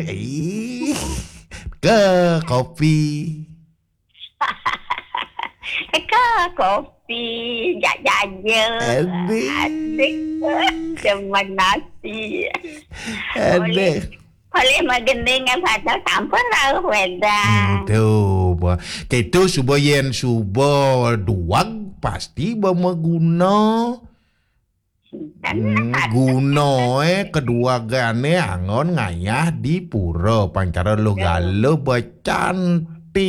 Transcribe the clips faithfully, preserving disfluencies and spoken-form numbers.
Ih, ke kopi. Ke kopi, jak jaja. Adik. Adik. Demen nasi. Adik. Boleh magending apa tak sampun rauh weda. Hmm, tu, bah. Ketu suba yen suba duag pasti ba maguna. Hmm, gunoe keduagane anggon ngayah di pura pancara luh gala becantik.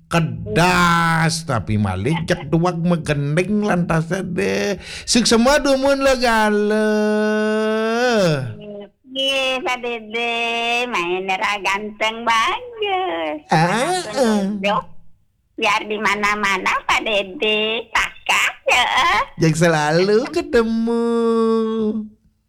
Kedas tapi malih cek duag magending lantas deh. Suksema dumun luh gala. Nggih, Pak Dede, main ra ganteng bagus. Ah, ah. Biar di mana-mana, Pak Dede. Pakat, ya. Yang selalu ketemu.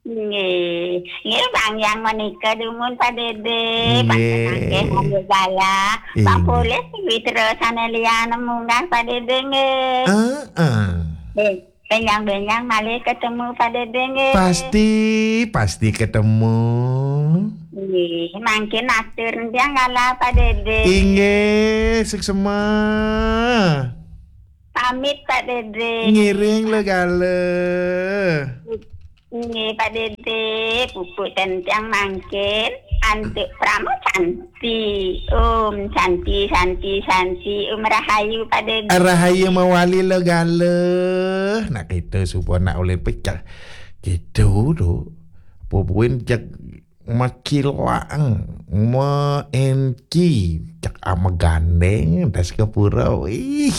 Nggih. Nggih, Bang, yang menika dumun, Pak Dede. Nggih. Bang Tenangke, Bang Gala. Bang Inggih. Polis, Witra, Sanelia, munggah, Pak Dede, nggih. Ah, ah. Nggih. Benyang-benyang malih ketemu Pak Dede nggih. Pasti, pasti ketemu. Nggih, mangkin atur tiang kala Pak Dede. Inggih, suksema. Pamit Pak Dede. Ngiring luh gala. Nggih Pak Dede, pupuk ten tiang mangkin antuk Prama Santi. Om Santi, Santi, Santi. Om Rahayu Pak Dede. Rahayu mawali luh gala. Nak kita suba nak ulih pecah. Kita tu. Apa buin jak makilang, ma enci, jak ama gandeng, das ke pura. Ih.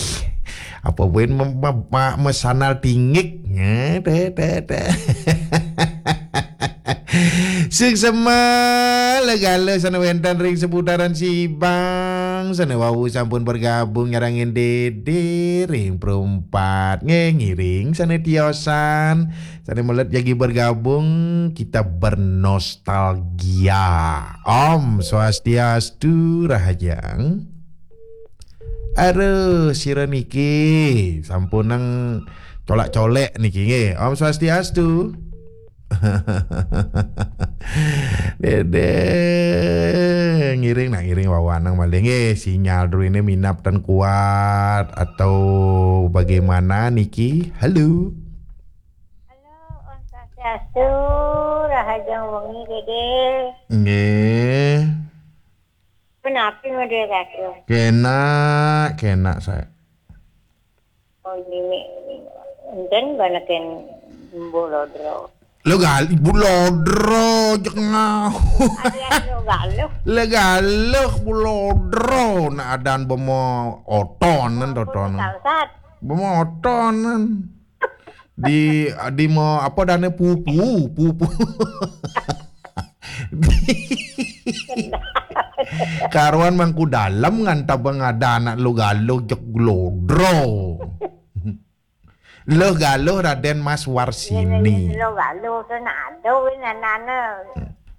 Apa buin ma-, ma-, ma-, masandal tinggi. Ya, teh, teh, teh. Suksema luh gala sane wenten ring seputaran Sibang, sane wau sampun bergabung nyarengin Dede ring perumpat. Nggih, ngiring sane tiosan, sane melet jagi bergabung, kita bernostalgia. Om Swastiastu, Rahajeng. Aduh, sira niki sampunang colak-colek niki nggih. Om Swastiastu. Dede, ngiring nak ngiring wawanang malih nggih. Sinyal dulu ini minap tan kuat atau bagaimana niki? Halo. Halo, Om Swastiastu, Rahajeng wengi, Dede. Nggih. Punapi Dede Ratu? Kenak, kenak saya. Oh, ini, ini. Enten banaken Bu Lodro. Luh gal-, Bu Lodro, jeg ngau. Ada luh galuh. Luh galuh, Bu Lodro. Nak adan bemo otonan, otonan. Sangsat. Bemo otonan. Di, di mo, apa dane pupu, pupu. Karuan Mangku Dalem ngantab ngada anak luh galuh jeg Lodro. Luh galuh Raden Mas Warsini. Luh galuh tu nak ada win anana.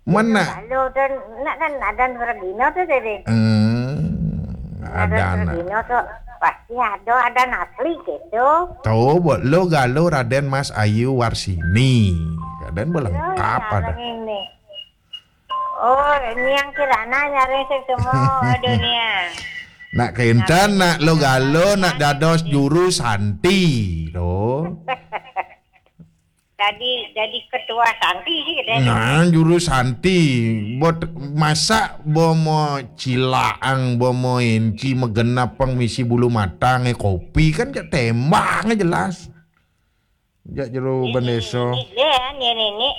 Mana? Luh galuh tu nak kan ada Radino tu tadi. Hmm, ada anak. Radino tu pasti ada, ada asli gitu. Tahu buat luh galuh Raden Mas Ayu Warsini. Raden belengkap ada. Ini. Oh, ini yang kirana nyaring sing semua. Aduh, nia. Nak keintan, nak luh galuh, nak dados juru santi, loh. Jadi, jadi ketua santi sih, katanya. Nah, juru santi. Buat masak, bomo cilaang, bomo enci, magenap pang misi bulu matang, eh, kopi, kan jak tembang, eh, jelas. Jak jero bendesa. Ini, ini, ini, ini.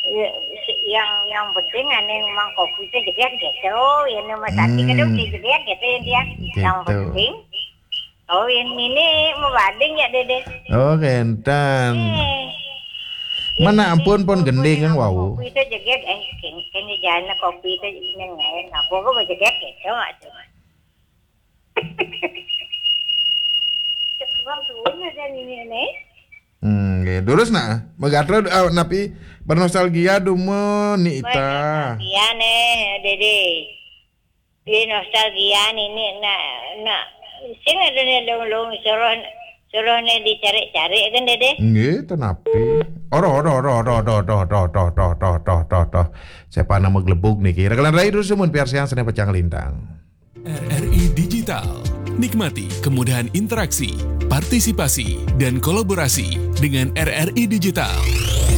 Ya, si-, yang, yang penting ane mang kopi itu jeget gitu. Ya, nama santi kadang dia jeget gitu, ya, dia. Yang penting. Oh, ini nih, mau bading ya, Dede? Oh, kenten. Eh. Mana ini ampun pun kopi gending yang wau. Kopi itu jeget, eh, keng-, keng jana kopi itu neng lain. Apa gua mau jeget gitu, maksudnya. Cek bang suwun aja ini, nih. Hmm, nggih. Terus, nah, megatra, eh, napi bernostalgia dumun ni ita. Bernostalgia, nih, Dede. Di nostalgia nini nak, nak sing ada ni lung-lung suruh, suruh ni dicari-cari kan, Dede? Nggih, tenapi. Oro, oro, oro, oro, oro, oro, oro, oro, oro, oro, oro. Saya panah menggelebuk nih. Kira kalian rai dulu semun piarsian sana pecah lintang. R R I Digital. Nikmati kemudahan interaksi, partisipasi, dan kolaborasi dengan R R I Digital.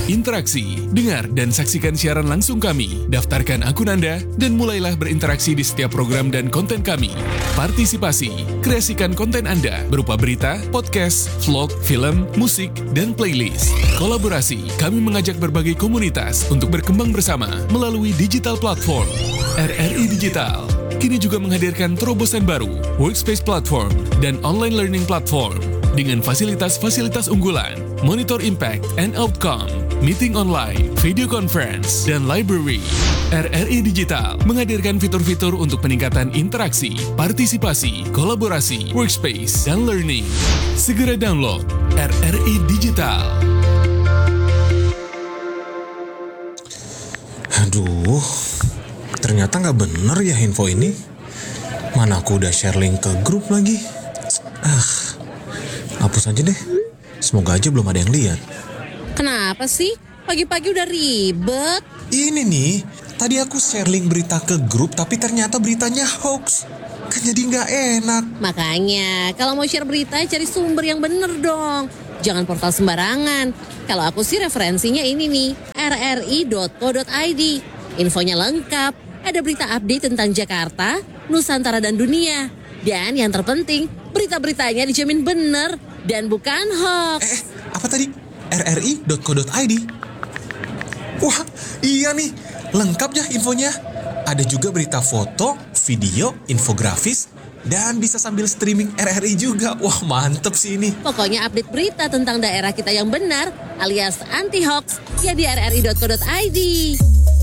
Interaksi, dengar dan saksikan siaran langsung kami. Daftarkan akun Anda dan mulailah berinteraksi di setiap program dan konten kami. Partisipasi, kreasikan konten Anda berupa berita, podcast, vlog, film, musik, dan playlist. Kolaborasi, kami mengajak berbagai komunitas untuk berkembang bersama melalui digital platform. R R I Digital kini juga menghadirkan terobosan baru, Workspace Platform, dan Online Learning Platform dengan fasilitas-fasilitas unggulan, monitor impact and outcome, meeting online, video conference, dan library. R R I Digital menghadirkan fitur-fitur untuk peningkatan interaksi, partisipasi, kolaborasi, workspace, dan learning. Segera download R R I Digital. Aduh, ternyata nggak bener ya info ini. Mana aku udah share link ke grup lagi. Ah, hapus aja deh. Semoga aja belum ada yang lihat. Kenapa sih? Pagi-pagi udah ribet. Ini nih, tadi aku share link berita ke grup tapi ternyata beritanya hoax. Kan jadi nggak enak. Makanya, kalau mau share berita, cari sumber yang bener dong. Jangan portal sembarangan. Kalau aku sih referensinya ini nih, R R I dot co dot I D. Infonya lengkap. Ada berita update tentang Jakarta, Nusantara dan dunia. Dan yang terpenting, berita-beritanya dijamin bener dan bukan hoax. Eh, apa tadi? R R I dot co dot I D. Wah, iya nih, lengkap ya infonya. Ada juga berita foto, video, infografis, dan bisa sambil streaming R R I juga. Wah, mantep sih ini. Pokoknya update berita tentang daerah kita yang benar alias anti hoax ya di R R I dot co dot I D.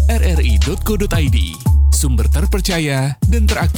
R R I dot co dot I D, sumber terpercaya dan teraktual.